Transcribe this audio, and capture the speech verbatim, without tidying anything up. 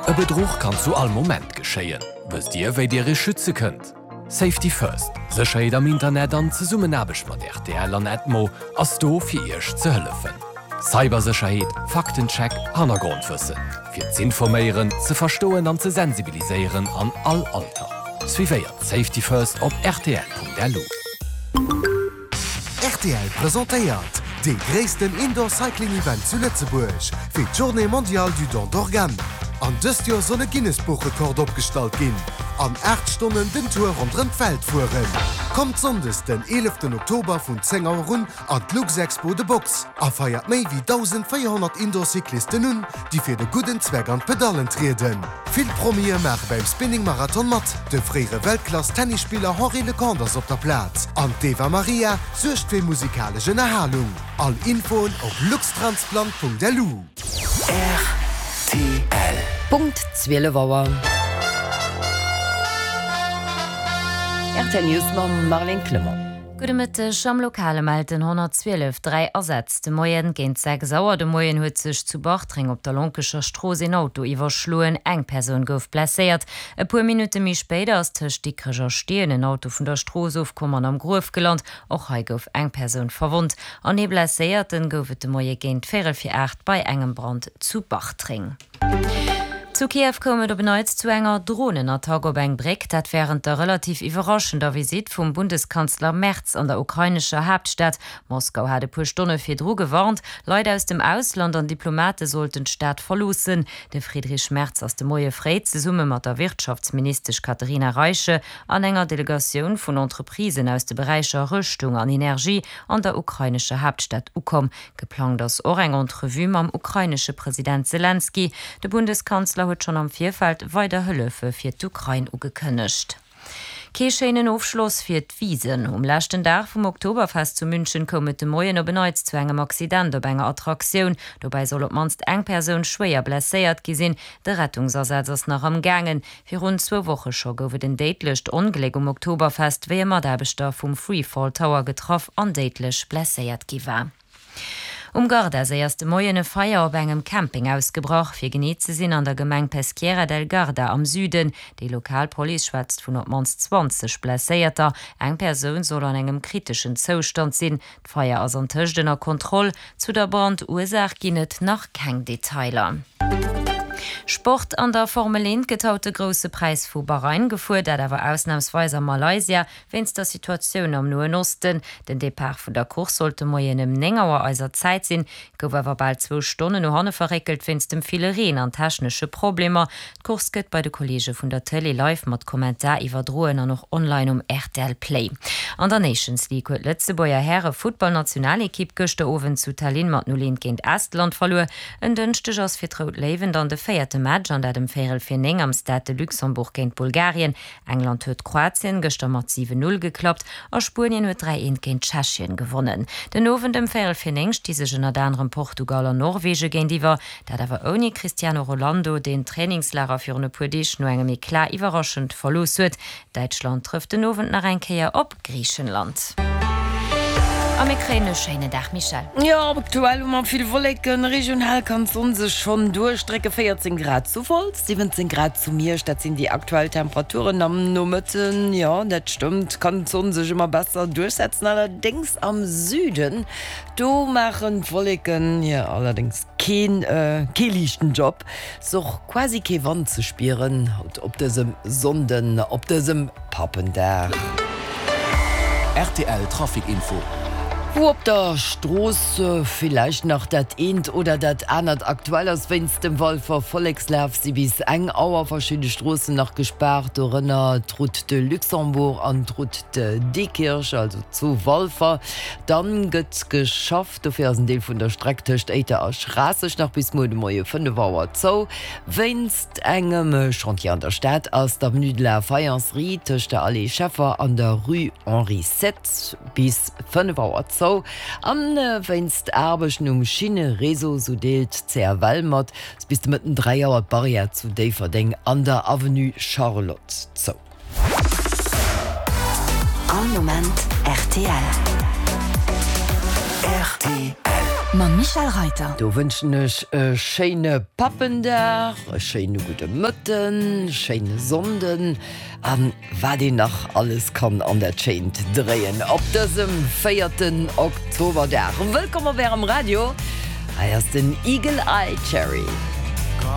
E Bedruch kann zu all Moment geschéien. Wësst Dir, wéi Dir Iech schütze kënnt? Safety First, Sécherheet am Internet an Zesummenaarbecht mat rtl an Edmo ass do fir Iech ze hëllefen. Cybersécherheet, Faktencheck, Hannergrondwëssen. Fir z'informéieren, ze verstoen an ze sensibiliséieren an all Alter. Suivéiert Safety First op rtl.lu. Rtl presentéiert dee gréissten Indoor Cycling Event zu Lëtzebuerg fir d'Journée mondiale du don d'organes. An dëst Joer soll e Guinness-Buch-Rekord opgestallt ginn. An aacht Stonnen den Tour ronderëm d'Welt fueren. Kommt sonndes den eeleften Oktober vun zéng Auer un an d'Luxexpo The Box a feiert méi wéi dausendvéierhonnert Indoor-Cyclisten un, déi fir de gudden Zweck an d'Pedallen trieden. Vill Promie maache beim Spinning Marathon mat, de fréiere Weltklass-Tennisspiller Henri Leconte ass op der Plaz an d'Eva Marija suergt fir musikalesch Ënnerhalung. All Infoen op luxtransplant.lu. Rtl. Punkt zwielef Auer. Rtl News mam Marlène Clement. Gudde Mëtteg, Am Lokale mellt den honnertzwielef dräi Asätz de Moien. Géint sechs Auer de Moien huet sech zu Bartreng op der Lonkecher Strooss een Auto iwwerschloen. Eng Persoun gouf blesséiert. E puer Minutte méi spéider ass tëscht Dikrech a Steeën en Auto vun der Strooss ofkomm an am Gruef gelant. Och hei gouf eng Persoun verwonnt. An ee Blesséierten gouf et de Moie géint véierel vir aacht bei engem Brand zu Bartreng. Zu Kiew koum et op en Neits zu enger Dronenattack op eng Bréck, dat wärend der relativ iwwerraschender Visitt vum Bundeskanzler Merz an der ukrainescher Haaptstad. Moskau hat e puer Stonne virdru gewarnt, Leit aus dem Ausland an Diplomate sollten d'Stad verloossen. De Friedrich Merz ass de Moie fréi zesumme mat der Wirtschaftsministesch Katherina Reiche an enger Delegatioun vun Entreprisen aus de Beräicher Rëschtung an Energie an der ukrainescher Haaptstad ukomm. Geplangt ass och eng Entrevue mam ukrainesche President Selenskyj. De Bundeskanzler huet schonn am Virfeld weider Hëllefe fir d'Ukrain ugekënnegt. Kee schéinen Ofschloss fir d'Wiesn. Um leschten Dag vum Oktoberfest zu München koum et de Moien op en Neits zu engem Accident op enger Attraktioun. Dobäi soll op d'mannst eng Persoun schwéier blesséiert gi sinn. De Rettungsasaz ass nach am gaangen. Virun zwou Woche scho gouf et en déidlecht Ongléck um Oktoberfest, wéi e Mataarbechter vum Freefall Tower getraff an déidlech blesséiert gi war. Um Gardaséi ass de Moien e Feier op engem Camping ausgebrach, fir genee ze sinn an der Gemeng Peschiera del Garda am Süden. Déi lokal Police schwätzt vun op d'mannst zwanzeg Blesséierter. Eng Persoun soll an engem kriteschen Zoustand sinn. D'Feier ass antëscht ënner Kontroll. Zu der Brandursaach ginn et nach keng Detailer. Sport, An der Formel eent gëtt haut de Grousse Präis vu Bahrain gefuer, dat awer ausnamsweis a Malaysia, wéinst der Situatioun am Noen Osten. Den Depart vun der Course sollt de Moien ëm néng Auer eiser Zäit sinn, gouf awer bal zwou Stonnen no hanne verréckelt wéinst dem ville Reen an technesche Problemer. D'Course gëtt bei de Kolleege vun der Tëlee live mat Kommentar iwwerdroen an och online um rtl Play. An der Nations League huet d'Lëtzebuerger Häre-Futtballnationalekipp gëschter Owend zu Tallinn mat null eent géint Estland verluer. En Dënschdeg ass fir d'Rout Léiwen dann de véierte Match an dat ëm véierel vir néng am Stade de Luxembourg géint Bulgarien. England huet Kroatien gëschter mat siwen Null geklappt a Spuenien huet dräi eent géint Tschechien gewonnen. Den Owend ëm véierel vir néng sti sech ënnert anerem Portugal an Norwege géintiwwer, dat awer ouni Cristiano Rolando, deen d'Trainingslager virun e puer Deeg no engem Eclat iwwerraschend verlooss huet. Däitschland trëfft den Owend nach eng Kéier op Griichenland. A mir kréien e schéinen Dag, Michèle. Jo, aktuell hu mer vill Wolleken. Regional kann d'Sonn sech schonn duerchdrécken. véierzéng Grad zu Wolz, siwwenzéng Grad zu Miersch, dat sinn déi aktuell Temperaturen. Am Nomëtten, jo, dat stëmmt, kann d'Sonn sech ëmmer besser duerchsetzen. Allerdéngs am Süden, do maachen d'Wolleken hir allerdéngs keen, kee liichten Job. Ass och quasi kee Wand ze spieren haut op dësem Sonnden, op dësem Pappendag. Rtl Trafic Info. Wou op der Strooss villäicht nach dat eent oder dat anert aktuell ass. Wéinst dem Walfer Vollekslaf si bis eng Auer verschidde Stroossen nach gespaart, dorënner d'Route de Luxembourg an d'Route de Diekirch, also zu Walfer. Dann gëtt geschafft, dofir ass en Deel vun der Streck tëscht Éiter a Schraasseg nach bis muer de Moie fënnef Auer zou. Wéinst engem Chantier an der Stad ass d'Avenue de la Faïencerie tëscht der Allée Scheffer an der Rue Henri Sept bis fënnef Auer zou. An wéinst Aarbechten um Schinnereseau, sou deelt d'CFL mat, ass bis de Mëtten dräi Auer d'Barrière zu Déifferdeng an der Avenue Charlotte zou. All Moment rtl. Rtl. Mam Michel Reiter. Do wënschen ech e schéine Pappendag, e schéine gudde Mëtten, schéine Sonnden an wat een nach alles kann an dat Schéint dréien op dësem véierten Oktoberdag. Wëllkomm op Ärem Radio, hei ass den Eagle Eye Cherry.